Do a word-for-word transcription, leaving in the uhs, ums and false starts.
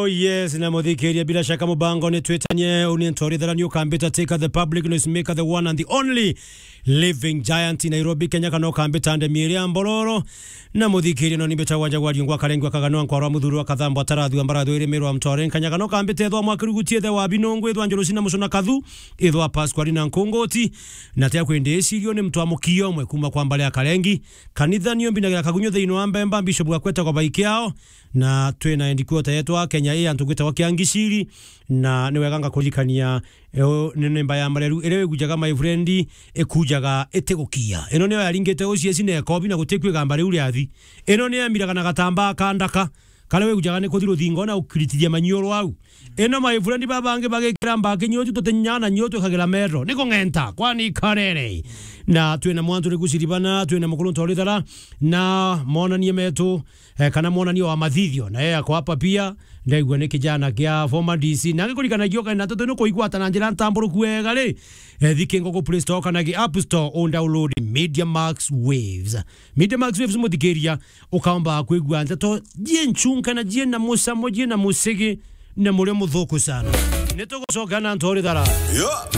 Oh yes, na muthikiria, bila shaka mubango ni twitanie, uni ntori thara ni ukambita tika the public noise maker, the one and the only living giant in Nairobi, Kenya, kana ukambita ndemi iria mbororo. Na muthikiria no nimbita wanja wa riungwa karengwa kaganwa nkwaro muthuru wa kathambo atarathua mbarathu iri mirwa mtore nkanya kana ukambita ethwa mwakirugutie the wa binungu ethwa njoro sina musuna kathu ethwa Pasqualina Nkungoti. Na tia kwende isirio ni mtu wa mukio mwe kuma kwa mbale ya Karengi. Kanitha nio mbinagira kagunyo thiini wa Mbemba, Bishop gakweta kwa baiki ao. Na twina headquarter yetu a Kenya ii antu gwitagwa Kiangiciri, na ni wega ngakuririkania, eu ni nyimba ya mareru iria wigujaga, my friend, ikujaga itigukia. Ino niyo yaringite ucieci na ekobi na guti kwigamba riu riathi. Ino ni yamiraga na gatambaa ka ndaka, karia wigujaga ni kuthi ruthingo na gukiritithia maniuru au. Ino, my friend, babangi bagikira mbaki nyotu tutinyana nyotu ikagira metro. Ni kung'enta, kwani karere. Na twina mwantu ri guciribana, twina mukuru ntorithara, na monanie metu, eh, kana mwonania wa mathithio, na yeye ako hapa pia. Ndaigua ni kijana kia former D C. Na ngikurikanagia ukenda nteto ino kuigwata na njira ntamburuku wega ri, eh, thiki ngoko Play Store kana ki App Store, undownload Media Max Waves. Media Max Waves, muthikiria, ukaomba kwigua nteto jie nchunka na jie na mucamo, jie na musigi, na murio muthuku sana. Nitugucoka na ntori thara. Yeah.